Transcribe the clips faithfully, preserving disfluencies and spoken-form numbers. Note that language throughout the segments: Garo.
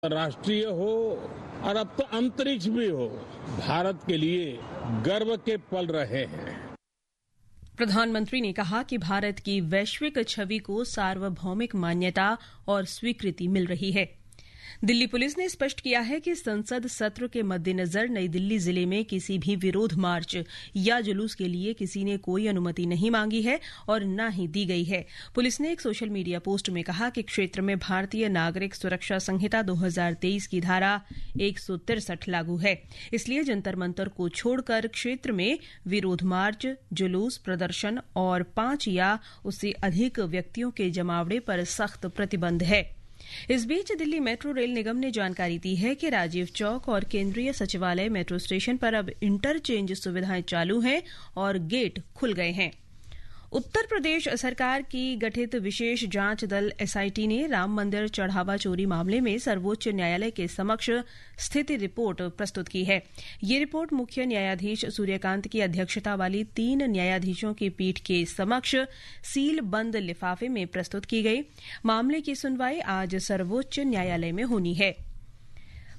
राष्ट्रीय हो और अब तो अंतरिक्ष भी हो, भारत के लिए गर्व के पल रहे हैं। प्रधानमंत्री ने कहा कि भारत की वैश्विक छवि को सार्वभौमिक मान्यता और स्वीकृति मिल रही है। दिल्ली पुलिस ने स्पष्ट किया है कि संसद सत्र के मद्देनजर नई दिल्ली जिले में किसी भी विरोध मार्च या जुलूस के लिए किसी ने कोई अनुमति नहीं मांगी है और ना ही दी गई है। पुलिस ने एक सोशल मीडिया पोस्ट में कहा कि क्षेत्र में भारतीय नागरिक सुरक्षा संहिता दो हज़ार तेईस की धारा एक सौ तिरसठ लागू है, इसलिए जंतर मंतर को छोड़कर क्षेत्र में विरोध मार्च, जुलूस, प्रदर्शन और पाँच या उससे अधिक व्यक्तियों के जमावड़े पर सख्त प्रतिबंध है। इस बीच दिल्ली मेट्रो रेल निगम ने जानकारी दी है कि राजीव चौक और केंद्रीय सचिवालय मेट्रो स्टेशन पर अब इंटरचेंज सुविधाएं चालू हैं और गेट खुल गए हैं। उत्तर प्रदेश सरकार की गठित विशेष जांच दल एसआईटी ने राम मंदिर चढ़ावा चोरी मामले में सर्वोच्च न्यायालय के समक्ष स्थिति रिपोर्ट प्रस्तुत की है। ये रिपोर्ट मुख्य न्यायाधीश सूर्यकांत की अध्यक्षता वाली तीन न्यायाधीशों की पीठ के समक्ष सील बंद लिफाफे में प्रस्तुत की गई। मामले की सुनवाई आज सर्वोच्च न्यायालय में होनी है।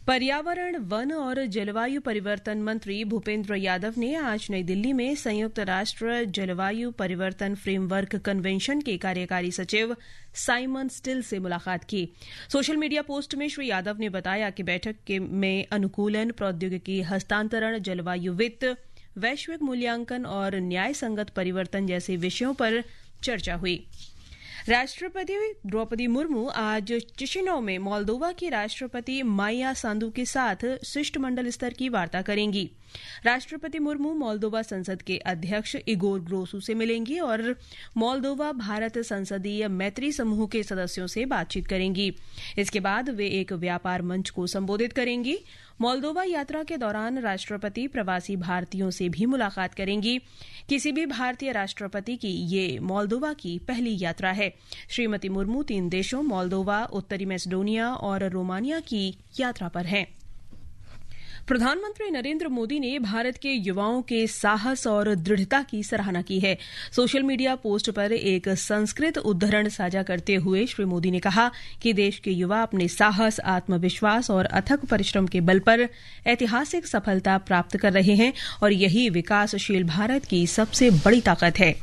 पर्यावरण, वन और जलवायु परिवर्तन मंत्री भूपेंद्र यादव ने आज नई दिल्ली में संयुक्त राष्ट्र जलवायु परिवर्तन फ्रेमवर्क कन्वेंशन के कार्यकारी सचिव साइमन स्टिल से मुलाकात की। सोशल मीडिया पोस्ट में श्री यादव ने बताया कि बैठक के, में अनुकूलन, प्रौद्योगिकी हस्तांतरण, जलवायु वित्त, वैश्विक मूल्यांकन और न्याय संगत परिवर्तन जैसे विषयों पर चर्चा हुई। राष्ट्रपति द्रौपदी मुर्मू आज चिशिनौ में मोल्दोवा की राष्ट्रपति माइया सांदू के साथ शिष्टमंडल स्तर की वार्ता करेंगी। राष्ट्रपति मुर्मू मोल्दोवा संसद के अध्यक्ष इगोर ग्रोसू से मिलेंगी और मोल्दोवा भारत संसदीय मैत्री समूह के सदस्यों से बातचीत करेंगी। इसके बाद वे एक व्यापार मंच को संबोधित करेंगी। मोल्दोवा यात्रा के दौरान राष्ट्रपति प्रवासी भारतीयों से भी मुलाकात करेंगी। किसी भी भारतीय राष्ट्रपति की ये मोल्दोवा की पहली यात्रा है। श्रीमती मुर्मू तीन देशों मोल्दोवा, उत्तरी मैसेडोनिया और रोमानिया की यात्रा पर हैं। प्रधानमंत्री नरेंद्र मोदी ने भारत के युवाओं के साहस और दृढ़ता की सराहना की है। सोशल मीडिया पोस्ट पर एक संस्कृत उद्धरण साझा करते हुए श्री मोदी ने कहा कि देश के युवा अपने साहस, आत्मविश्वास और अथक परिश्रम के बल पर ऐतिहासिक सफलता प्राप्त कर रहे हैं और यही विकासशील भारत की सबसे बड़ी ताकत है।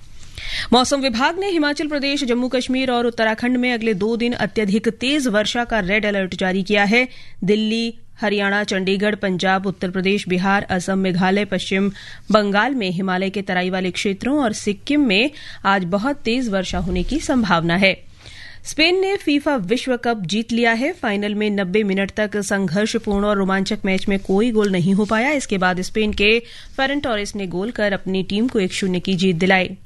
मौसम विभाग ने हिमाचल प्रदेश, जम्मू कश्मीर और उत्तराखंड में अगले दो दिन अत्यधिक तेज वर्षा का रेड अलर्ट जारी किया है। दिल्ली, हरियाणा, चंडीगढ़, पंजाब, उत्तर प्रदेश, बिहार, असम, मेघालय, पश्चिम बंगाल में हिमालय के तराई वाले क्षेत्रों और सिक्किम में आज बहुत तेज वर्षा होने की संभावना है। स्पेन ने फीफा विश्व कप जीत लिया है। फाइनल में नब्बे मिनट तक संघर्षपूर्ण और रोमांचक मैच में कोई गोल नहीं हो पाया। इसके बाद स्पेन के फेरन टोरेस ने गोल कर अपनी टीम को एक शून्य की जीत दिलाई।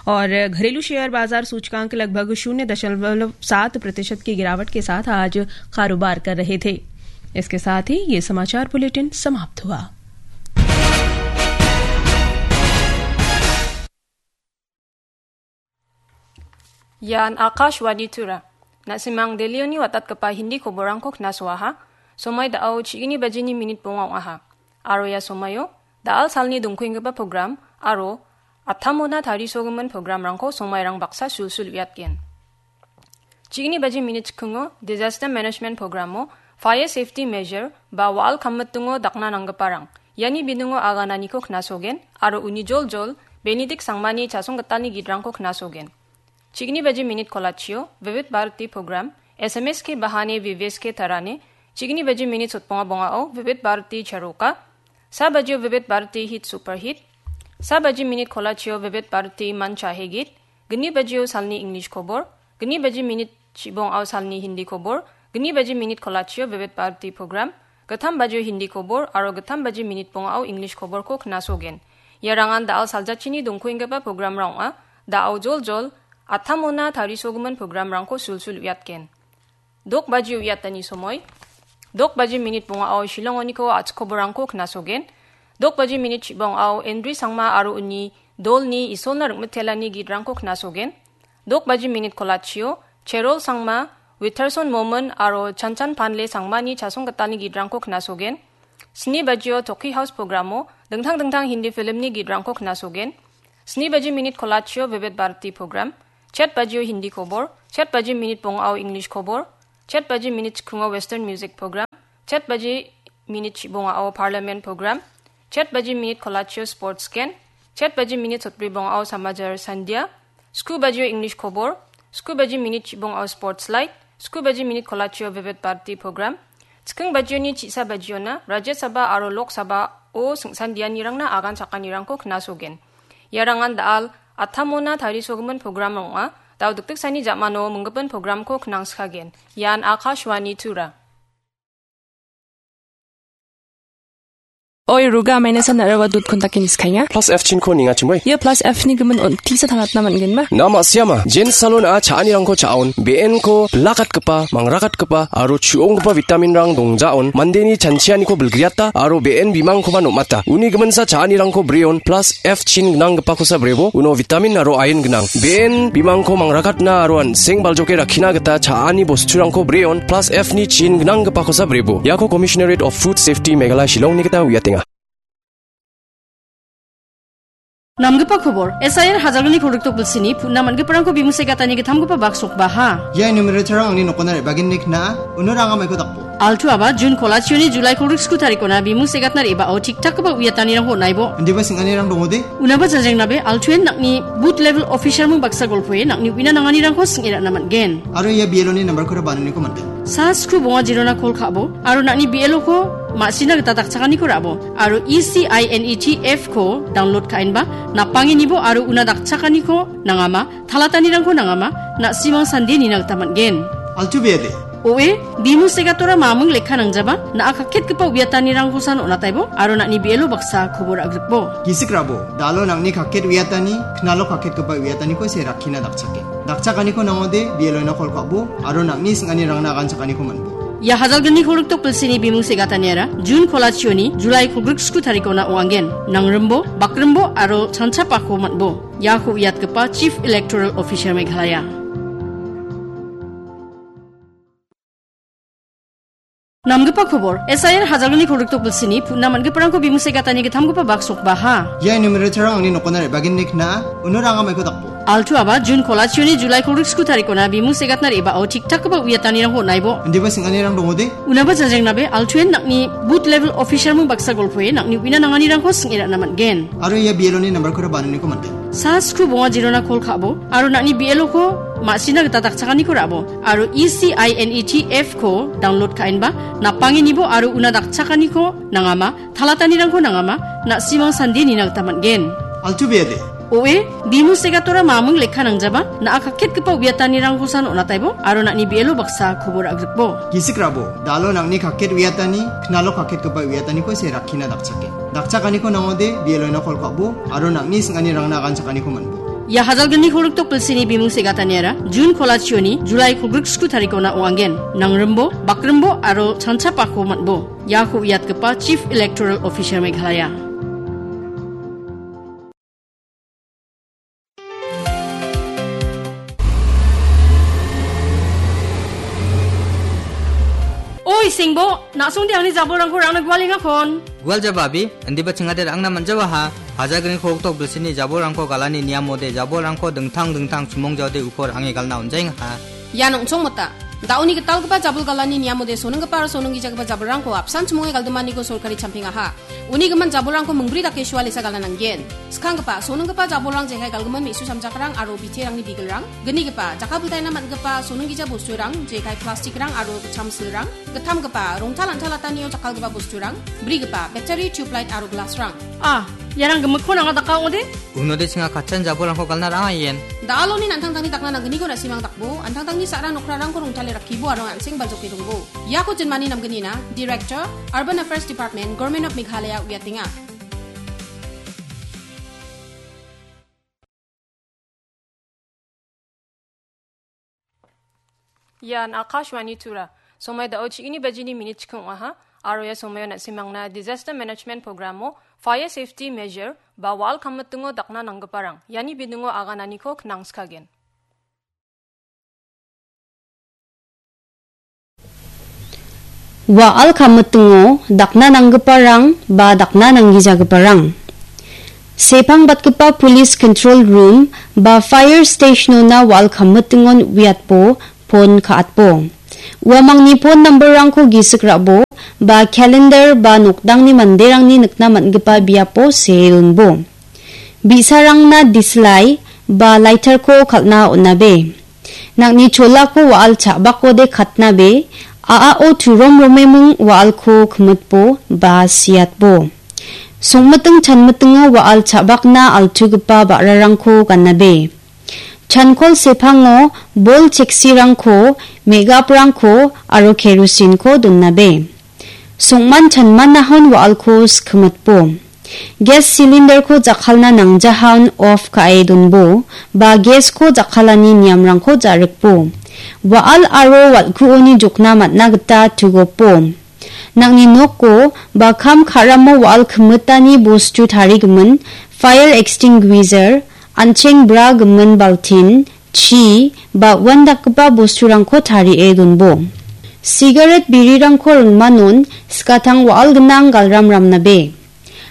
और घरेलू शेयर बाजार सूचकांक लगभग शून्य दशमलव सात प्रतिशत की गिरावट के साथ आज कारोबार कर रहे थे। इसके साथ ही ये समाचार बुलेटिन समाप्त हुआ। Ian Akashvani Tura. Na·simang Delhioni watatgipa Hindi koborangko knasoaha. Somai da·ao chigni bajini minit bonga ong·aha. Aro ia somaio da·al salni dongkuenggipa program aro atamona tarisogimin programrangko somairang baksa sulsul uiatgen. Chigni baji minit chikingo Disaster Management Programo Fire Safety Measure ba wa·al kammitingo dakna nanggiparang iani biningo agananiko knasogen aro uni joljol Benedict Sangmani chasonggitalni gitrangko knasogen. Chigni baji minit kolachio Vivid Bharati Program, S M S ke bahane V V S ke tarane, chigni baji minit sotbonga bongao Vivid Bharati Charoka, sa bajio Vivid Bharati Hit Super Hit, sa baji minit kolachio Vivid Bharati Man Chahe Git, gni bajio salni English kobor, gni baji minit chibongao salni Hindi kobor, gni baji minit kolachio Vivid Bharati Program, gittam bajio Hindi kobor aro gittam baji minit bongao English koborko knasogen. Iarangan da·al saljachini dongkuenggipa programrang ong·a. Da·ao joljol atamona tarisogimin programrangko sulsul uiatgen. Dok baji uiatani somoi. Dok baji minit bongao Shillongoniko a·chik koborrangko knasogen. Dok baji minit chibongao Endri Sangma aro uni dolni Isolna ring·mitelani gitrangko knasogen. Dok baji minit kolachio Cherol Sangma, Witterson Momon aro Chanchan Panle Sangmani chasonggitalni gitrangko knasogen. Sni bajio Toki House programo dingtang dingtang Hindi filmni gitrangko knasogen. Sni baji minit kolachio Vivid Bharati program, chet bajio Hindi kobor, chet baji minit bongao English kobor, Chet baji minit chikungo Western Music Program, chet baji minit chibongao Parliament Program, chet baji minit kolachio Sports Gen, chet baji minit sotbri bongao Samajar Sandia, sku bajio English Khobor, sku baji minit chibongao Sports Light, sku baji minit kolachio Vivid Bharati Program, chiking bajioni chisa bajiona Rajya Sabha aro Lok Sabha-o singsandianirangna agan chakanirangko knasogen. Iarangan da·al atamona tarisogimin program ong·a, dao dikdiksani jamano minggipin programko knangskagen. Ian Akashvani Tura. Oi, Ruga, maina san nara wa dut kontak ini skanya. Plus F chin ko ninga chimoi. Ia plus F ni gimin on tisa tangatna man gen ma. Nama siama, Jen Salon a cha·anirangko cha·on, B N ko bilakatgipa, mangrakatgipa, aro chu·onggipa vitamin rang dongjaon, mandeni chanchianiko bilgriata, aro B N bimangkoba nomata. Uni giminsa cha·anirangko breon, plus F chin gnanggipakosa brebo, uno vitamin aro iron gnang. B N bimangko mangrakatna aro an·seng baljoke rakkina gita cha·ani bosturangko breon, plus F ni chin gnanggipakosa brebo. Iako Commissionerate of Food Safety Meghalaya Shillong ni gita uiatenga. Namgipa kobor, S I R hajalgni kolgrikdok bilsini putna man·giparangko bimung segatani gittamgipa bak sokbaha. Ia enumerator-rang angni nokona re·bagenni kna·a, uno ranga maiko dakbo. Altu aba Jun kolachioni Julai kolgrik sku tarikona bimung segatna re·bao tik-takgipa uiatanirangko on·aibo. Indiba sing·anirang dongode? Unaba janjrengnabe, Altuen nang·ni booth level officer-ming baksa golpoe nang·ni uina nanganirangko sing·e ra·na man·gen. Aro ia B L O-ni nambarkora bananiko man·gen. Sa sku bonga jirona kol ka·bo, aro nang·ni B L O-ko ma·sina gita dakchakaniko ra·bo, aro E C I N E T F-ko download ka·enba, napangenibo aro una dakchakaniko nangama, talatanirangko nangama, na·simang sande nina gita man·gen. Altu bede. Oe, bimung segatora mamung lekka nangjaba, na·a kakketgipa uiatanirangkosan on·ataibo, aro nang·ni B L O baksa kobor agrikbo. Gisik rabo, dalo nang·ni kakket uiatani, knalo kakketgipa uiataniko se rakkina dakchake. Dakchakaniko nangode, B L O-ina kol ka·bo, aro nang·ni sing·anirangna aganchakaniko man·bo. Ia hajalgni kolgrikdok bilsini bimung segataniara, Jun kolachioni, Julai kolgrik sku tarikona ong·angen. Nangrimbo, bakrimbo, aro chanchapako man·bo. Iako uiatgipa Chief Electoral Officer Meghalaya. Namgipa kobor, S I R hajalgni kolgrikdok bilsini putna man·giparangko bimung segatani gittamgipa bak sokbaha. Ia enumerator-rang angni nokona re·bagenni kna·a, uno ranga maiko dakbo. Altu aba Jun kolachioni Julai kolgrik sku tarikona bimung segatna re·bao tik-takgipa uiatanirangko on·aibo. Indiba sing·anirang dongode? Unaba janjrengnabe, Altuen nang·ni booth level officer-ming baksa golpoe nang·ni uina nanganirangko sing·e ra·na man·gen. Aro ia B L O-ni nambarkora bananiko man·gen. Sa sku bonga jirona kol ka·bo, aro nang·ni B L O-ko ma·sina gita dakchakaniko ra·bo, aro E C I N E T F-ko download ka·enba, napangenibo aro una dakchakaniko nangama, talatanirangko nangama, na·simang sande nina gita man·gen. Altu bede. Oe, bimung segatora mamung lekka nangjaba, na·a kakketgipa uiatanirangkosan on·ataibo, aro nang·ni B L O baksa kobor agrikbo. Gisik rabo, dalo nang·ni kakket uiatani, knalo kakketgipa uiataniko se rakkina dakchake. Dakchakaniko nangode, B L O-ina kol ka·bo, aro nang·ni sing·anirangna aganchakaniko man·bo. Ia hajalgni kolgrikdok bilsini bimung segataniara, Jun kolachioni, Julai kolgrik sku tarikona ong·angen. Nangrimbo, bakrimbo, aro chanchapako man·bo. Iako uiatgipa Chief Electoral Officer Meghalaya. Oi, Sengbo, na·songde angni jabolrangko rangna gualengakon. Gual jaba, abi, indiba chingade rangna manjawaha. Hajalgni kolgrikdok bilsini jabolrangko galani niamode jabolrangko dingtang dingtang chimong jaode ukor ange galna onjaengaha. Ian ong·chongmota. Da·oni gitalgipa jabol galani niamode sonenggipa aro sonenggijagipa jabolrangko apsan chimonge galdimaniko sorkari champingaha. Uni gimin jabolrangko mingbri dake sualesa gala nanggen. Skanggipa, sonenggipa jabolrang jekai galgimin me·su samjakrang aro biterangni bigilrang. Gnigipa, jakkalbiltaina man·gipa sonenggija bosturang, jekai plastikrang aro gitcham silrang. Gittamgipa, rongtal an·talatanio jakkalgipa bosturang. Brigipa, battery, tubelight aro glassrang. Ah, iarang gimikkon anga daka ong·ode? Unode chinga katchan jabolrangko galna rang·aien. Da·aloni an·tangtangni dakna nanggniko na·simang dakbo, an·tangtangni sa·ra nokrarangko rongtale rakkibo aro an·seng baljoke dongbo. Iako jinmani namgnina, Director, Urban Affairs Department, Government of Meghalaya uiatenga. Ian Akashvani Tura. Somoi da·o chi·gni bajini minit chiking ong·aha, aro ia somoio na·simangna Disaster Management Programo Fire Safety Measure ba wa·al kammitingo dakna nanggiparang, iani biningo agananiko knangskagen. Wa·al kammitingo dakna nanggiparang ba dakna nanggijagiparang. Sepangbatgipa Police Control Room ba Fire Stationona wa·al kammitingon uiatbo, pon ka·atbo. Uamangni phone number-rangko gisik ra·bo ba calendar ba nokdangni manderangni nikna man·gipa biapo see donbo. Bi·sarangna dislai ba lighter-ko kal·na on·abe. Nang·ni cholako wa·al cha·bakode katnabe, a·ao turom romeming wa·alko kimitbo ba siatbo. Songmiting chanmitingo wa·al cha·bakna altugipa ba·rarangko ganabe. Chankol sepango bol cheksirangko, megaprangko aro kerosinko donabe. Songman chanmanahon wa·alko skimitbo. Gas cylinderko jakkalna nangjahaon off ka·e donbo, ba gasko jakkalani niamrangko ja·rikbo. Wa·al aro wal·kuoni jokna man·a gita tugopo. Nang·ni noko ba kam ka·ramo wa·al kimitani bostu tarigimin fire extinguisher, an·cheng bra gimin baltin, chi, ba uandakgipa bosturangko tarie donbo. Sigaret birirangko ringmanon skatang wa·al gnang galram ramnabe.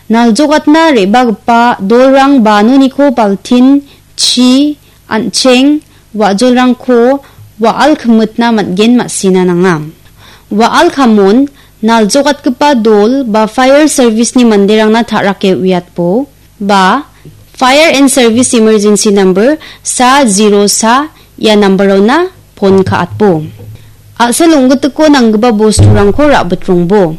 Naljogatna re·bagipa dolrang ba noniko baltin, chi, an·cheng, wa·jolrangko wa·al kimitna man·gen ma·sina nanga. Wa·al kamon naljogatgipa dol ba fire service-ni manderangna ta·rake uiatbo ba fire and service emergency number sa zero sa ia number-ona phone ka·atbo. A·sel ong·gitiko nanggipa bosturangko ra·bitrongbo.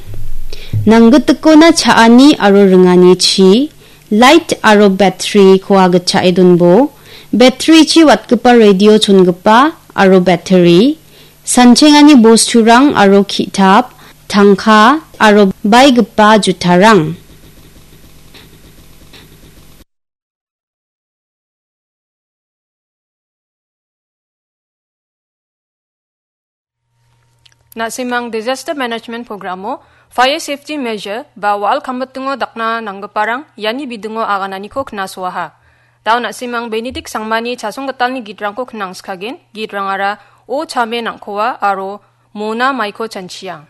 Nanggitikona cha·ani aro ringani chi, light aro battery-ko agitchae donbo. Battery-chi watgipa radio chongipa aro battery, sanchengani bosturang aro ki·tap, tangka aro baigipa jutarang. Na·simang Disaster Management Programo fire safety measure ba wa·al kamitingo dakna nanggiparang iani bidingo agananiko knasoaha. Dao na·simang Benedict Sangmani chasonggitalni gitrangko knangskagen, gitrangara O Chame Nangkoa aro Mona Maiko Chanchiang.